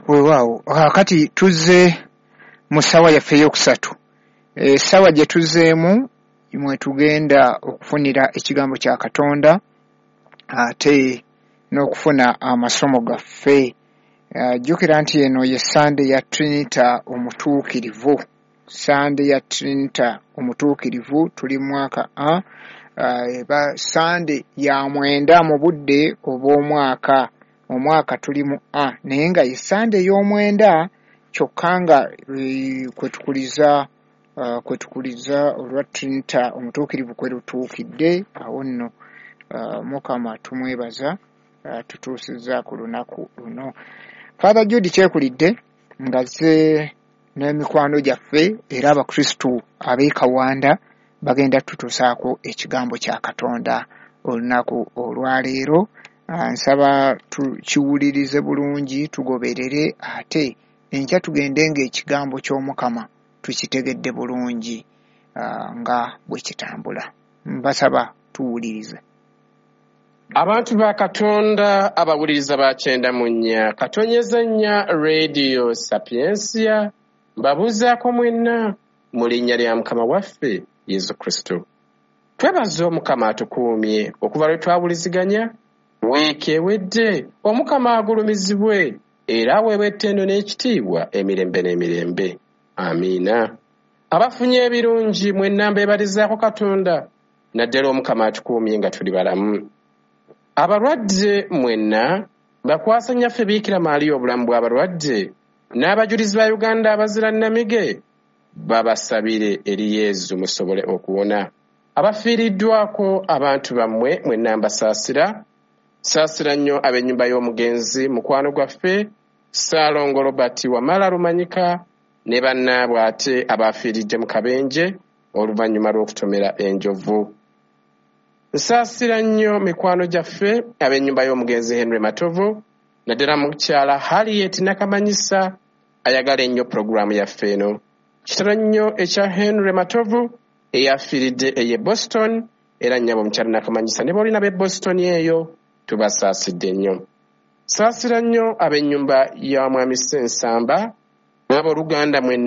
Weewaawo, kaakati tuzze mu ssaawa yaffe ey'okusatu. Essaawa gye tuzzeemu mwe tugenda okufunira ekigambo kya Katonda ate n'okufuna amasomo gaffe. Jjukira nti eno ye Ssande ya Trinita Omutuukirivu. Ssande ya Trinita Omutuukirivu, tuli mu mwaka A, eba Ssande ya 9 mu budde obw'omwaka. Omwaka tuli mu A, naye nga ye Ssande ey'omwenda kyokka nga kwe tukuliza olwa Trinita Omutuukirivu kwe lutuukidde. Awo nno Mukama tumwebaza tutuusizza ku lunaku luno. Father Jude Kyekulidde ng'azze n'emikwano gyaffe era Abakristu ab'e Kawanda bagenda tutuusaako ekigambo kya Katonda olunaku olwaleero. Nsaba tukiwulirize bulungi, tugoberere, ate enkya tugende ng'ekigambo ky'Omukama tukitegedde bulungi nga bwe kitambula. Mbasaba tuwulirize. Abantu ba Katonda abawuliriza ba 94.4 Radio Sapiensia, mbabuuzaako mwenna mu linnya lya Mukama waffe Yesu Kristo. Twebaza Omukama atukuumye okuva lwe twawuliziganya wiiki ewedde. Omukama agulumizibwe era aweebwa ettendo n'ekitiibwa emirembe n'emirembe. Amiina. Abafunye ebirungi mwenna mbeebalizaako Katonda, naddala Omukama atukuumye nga tuli balamu. Abalwadde mwenna bakwasa Nnyaffe Biikira Maria obulamu bw'abalwadde, n'abajulizi ba Uganda abazira nnamige babasabire eri Yezu musobole okuwona. Abafiiriddwako abantu bammwe mwenna mbasaasira. Saasira nnyo ab'ennyumba y'omugenzi mukwano gwaffe Ssaalongo Robert Wamala Lumanyika ne bannaabwe ate abafiiridde mu kabenje oluvannyuma lw'okutomera enjovu. Nsaasira nnyo mikwano gyaffe ab'ennyumba y'omugenzi Henry Matovu, naddala mukyala Harriet Nakamanyisa ayagala ennyo pulogulaamu yaffe eno. Kitalo nnyo ekya Henry Matovu eyafiiridde ey'e Boston, era nnyabo mukyala Nakamanyisa ne b'olina b'e Boston eyo tubasaasidde nnyo. Saasira nnyo ab'ennyumba ya Mwami Ssensamba n'abooluganda mwenna.